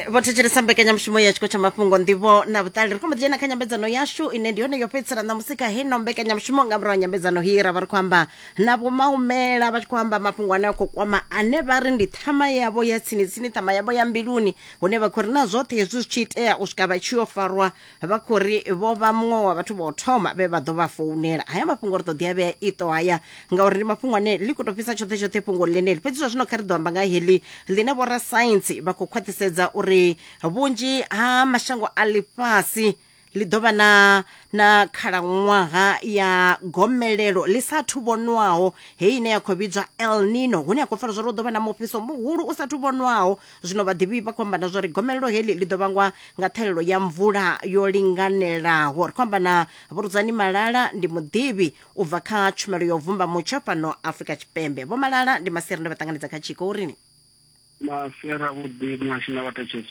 Vho thetshelesa mbekanyamushumo ya tshiko tsha mafhungo, nḓivho na vhuṱali. Ri khou mbo ḓi dzhena kha nyambedzano yashu ine ndi yone yo fhedzisela ṋamusi kha heino mbekanyamushumo. Nga murahu ha nyambedzano hii ra vha ri khou amba na Vho Maumela, vha tshi khou amba mafhungo ane a khou kwama ane vha ri ndi ṱhama yavho ya tsini tsini, ṱhama yavho ya mbiluni, hune vha khou ri na zwoṱhe hezwi zwi tshi itea u swika vha tshi yo farwa, vha khou ri vho vha muṅwe wa vhathu vha u thoma vhe vha ḓo vha founela. Haya mafhungo ri ḓo ḓi a vhea iṱo haya, ngauri ndi mafhungo ane ḽi khou tou fhisa tshoṱhe tshoṱhe fhungo ḽeneli. Fhedzi zwa zwino kha ri ḓo amba nga heḽi ḽine vhorasaintsi vha khou khwaṱhisedza uri vhunzhi ha mashango a ḽifhasi ḽi ḓo vha na na khalaṅwaha ya gomelelo ḽi sa athu vhonwaho, heyi ine ya khou vhidzwa El Nino, hune ya khou pfala zwa uri hu ḓo vha na mufhiso muhulu u sa athu vhonwaho. Zwino vhaḓivhi vha khou amba na zwa uri gomelelo heḽi ḽi ḓo vhangwa nga ṱhahelelo ya mvula yo linganelaho. Ri khou amba na Vho Rudzani Malala, ndi muḓivhi u bva kha tshumelo ya u vumba mutsho fhano Afrika Tshipembe. Vho Malala, ndi masiari, ndo vha ṱanganedza kha tshiko. Urini? Masiari avhuḓi muhasho na vhathetshelesi.